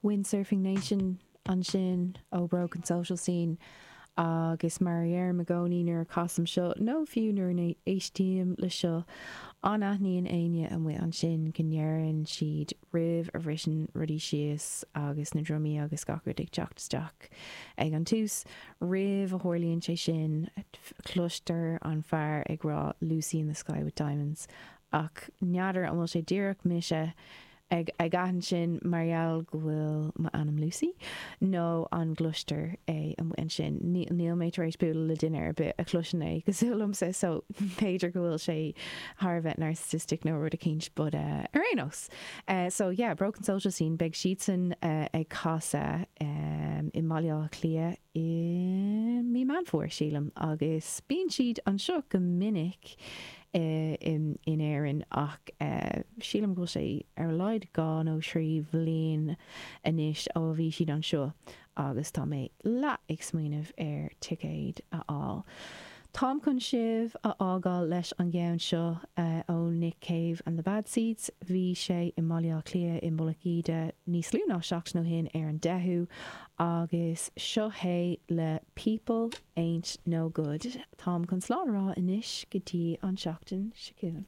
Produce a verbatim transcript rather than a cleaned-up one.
Windsurfing Nation ansin ó Broken Social Scene agus mar a deirim i gcónaí nuair a chasaim seo nó fiú nuair a éistím le seo an aithníonn éinne amuigh ansin go ndeireann siad roimh a bhriseann rudaí síos agus na drumaí agus gach rud ag teacht isteach ag an tús roimh a tharlaíonn sé sin cloistear an fear ag rá Lucy in the Sky with Diamonds ach n'fheadar an bhfuil sé díreach mise ag ag aithint sin mar gheall go bhfuil m'ainm Lucy nó an gcloistear é amuigh ansin níl mé tar éis bualadh le duine ar bith a chloiseann é cosúil liomsa so b'fhéidir go bhfuil sé thar a bheith narcissistic nó rud eicínt but uh, ar aon nós. Uh, so yeah, Broken Social Scene beidh siadsan uh, ag casadh um, i mBaile Átha Cliath i mí Meán Fómhair sílim agus bíonn siad anseo go minic in, in Éirinn ach uh, sílim go sé ar a laghad dhá nó trí bhliain anois ó bhí siad anseo agus tá mé le ag smaoineamh ar ticéad a fháil. Táim chun sibh a fhágáil leis an gceann seo uh, ó Nick Cave and the Bad Seeds, bhí sé i mBaile Átha Cliath i Mullach Íde níos lú ná seachtain ó shin ar an deichiú agus seo é le People Ain't No Good. Táim chun slán a rá anois go dtí an seachtain seo chugainn.